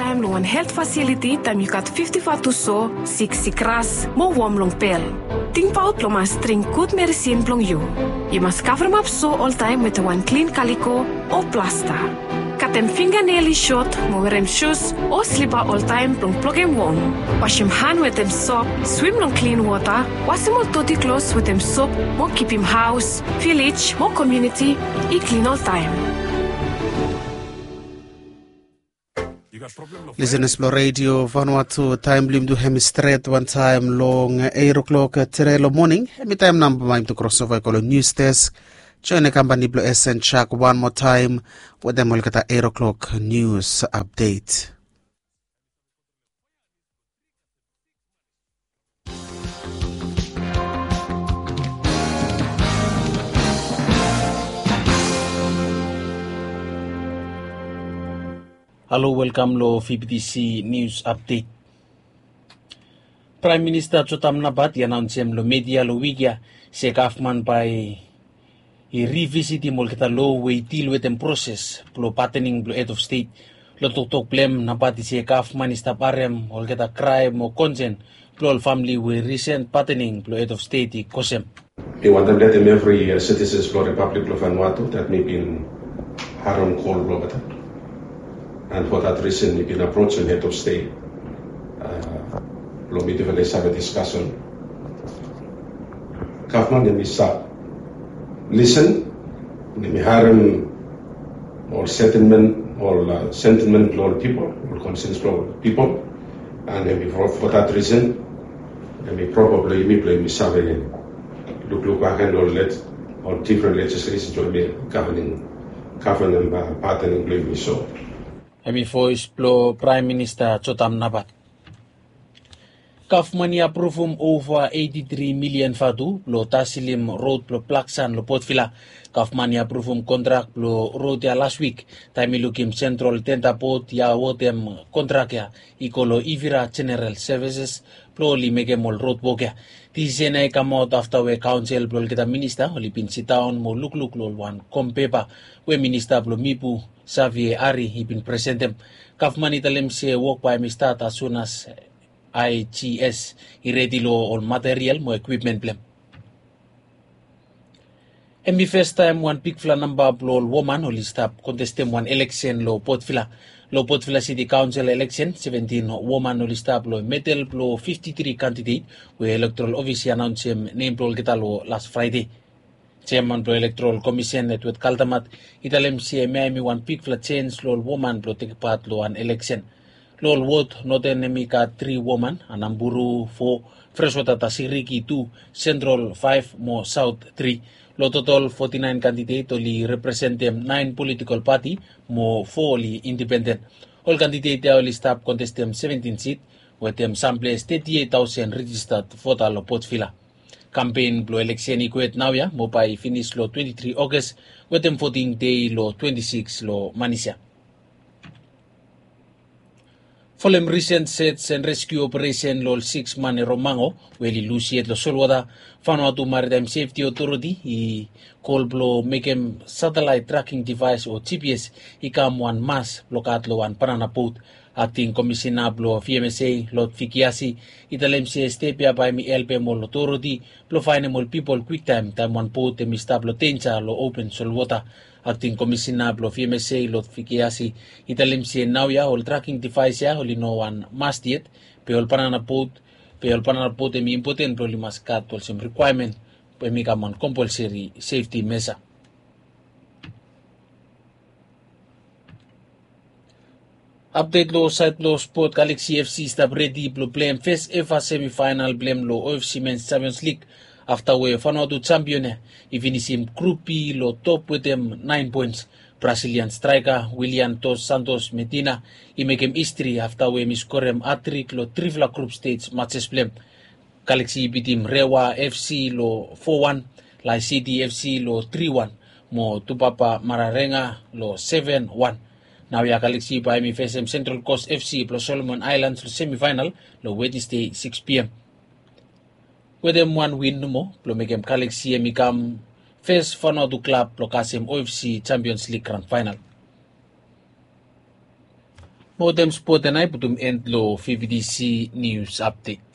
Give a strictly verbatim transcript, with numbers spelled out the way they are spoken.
Taem long wan helt fasiliti taem yu gat fifti fatu so, siksik ras mo wom long pel. Tingbaot blong mas dring gud medisin blong yu. Yu mas kavremap so oltaem wetem wan klin kaliko o plasta. Katem finganel i sot mo werem sus o slipa oltaem blong blokem wom. Wasem han wetem sop, swim long klin wota, wasem ol doti klos wetem sop mo kipim haos, vilej mo komuniti i klin oltaem. Lisenas blong redio Vanuatu, taem blong yumi tu hem i stret wantaem long eight o'clock tede long moning. Hem i taem namba bae yumi tu krosova i go long nius desk. Joen kampani blong S N Chak wan moa taem wetem olgeta eight o'clock nius apdet. Halo, welkam long V B T C News Update. Praem Minista Jotam Napat i anaonsem long media long wik ya se gavman bae i rivisitim olgeta lo we i dil wetem proses blong patening blong hed of stet. Long toktok blong hem, Napat i se gavman i stap harem olgeta kraem o konsen blong ol famili we risen patening blong hed of stet i kosem. Mi wantem letem evri sitisens blong Ripablik blong Vanuatu dat mi bin harem kol blong olgeta. And for that reason mi bin aprojem hed of stet blong mi definitively save diskasen. Gavman hem i stap lisen, hem i harem ol sentimen, ol sentimen blong ol pipol, ol konsens blong ol pipol. And hem i for that reason hem i proba blong yumi blong yumi save lukluk bakegen ol ol difren lejislesen blong yumi gavanem, gavanem patening blong yumi so. Hem i voes blong Praem Minista Jotam Napat. Gavman i apruvum ova eiti tri milian vatu blong taselim rod blong Blaksan long Potvila. Gavman i apruvum kontrak blong rod ya las wik taem i lukim Sentral Tenda Bod i awodem kontrak ya i go long Ivira Jeneral Sevises blong oli mekem ol rod wok ya. Disisen ya i kamaot afta we kaonsel blong olgeta minista oli bin sidaon mo lukluk long ol wan kom pepa we minista blong Mipu, Savie Ari, i bin presentem. Gavman i talem se wok bae hem i stat as sun as I G S i redi long ol material mo ekwipmen blong hem. Hem i fastaem wan bigfala namba blong ol woman oli stap kontestem wan eleksen long Potvila. Long Potvila Siti Kaonsel eleksen, seventin woman oli stap long medel blong fifti tri kandidet we Elektoral Ofis i anaonsem nem blong olgeta long las Fraede. Jeaman blong Elektoral Komisen, Edward Kaldamat, i talem se hemia hem i wan bigfala jens long ol woman blong tekem pat long wan eleksen. Long ol wod, Noten hem i gat tri woman, Anamburu fo, Freswata Tasiriki tu, Sentral faef mo Saot tri. Long totol foti naen kandidet oli representem naen politikol pati mo fo oli indipenden. Ol kandidet ya oli stap kontestem seventin sit wetem samples teti eit taosen rejistat vota long Potvila. Kampen blong eleksen i kwet naoia mo bae i finis long twenti tri Oges wetem voting dei long twenti sikis long manis ya. Folem risen sej and reskiu operesen long ol sikis man e Romango we oli lus yet long solwota, Vanuatu Maritaem Sefti Otoriti i kol blong mekem satelaet traking divaes o G P S i kam wan mas blong gat long wan banana bot. Akting Komisina blong V M S A, Lord Vikiasi, i talem se step ya bae hem i helpem ol otoriti blong faenem ol pipol kwiktaem taem wan bot hem i stap long denja long open solwota. Akting Komisina blong V M S A, Lord Vikiasi, i talem se naoia ol traking divaes ya oli no wan mas yet, be ol banana bot, be ol banana bot hem i impoten blong oli mas gat olsem rikwaemen, be hem i kam wan kompolseri sefti mesa. Apdet long saed blong spot, Galaxy F C i stap redi blong pleim fes eva semifaenal blong hem long O F C Men's Champions League afta we Vanuatu jampion ya i finisim Grup B long top wetem naen poens. Brazilian straeka Willian Dos Santos Medina i mekem histri afta we hem i skorem hatrik long trifala grup stej majes blong hem. Galaxy i bitim Rewa F C long fo wan, Lae City F C long tri wan, mo Tupapa Mararenga long seven wan. Naoia Galaxy bae hem i fesem Central Coast F C blong Solomon Islands long semifaenal long Wednesday sikis P M. Wetem wan win nomo blong mekem Galaxy hem i kam fes Vanuatu klab blong kasem O F C Champions League gran faenal. Mo tem spot ya nao i putum end long fbtc news update.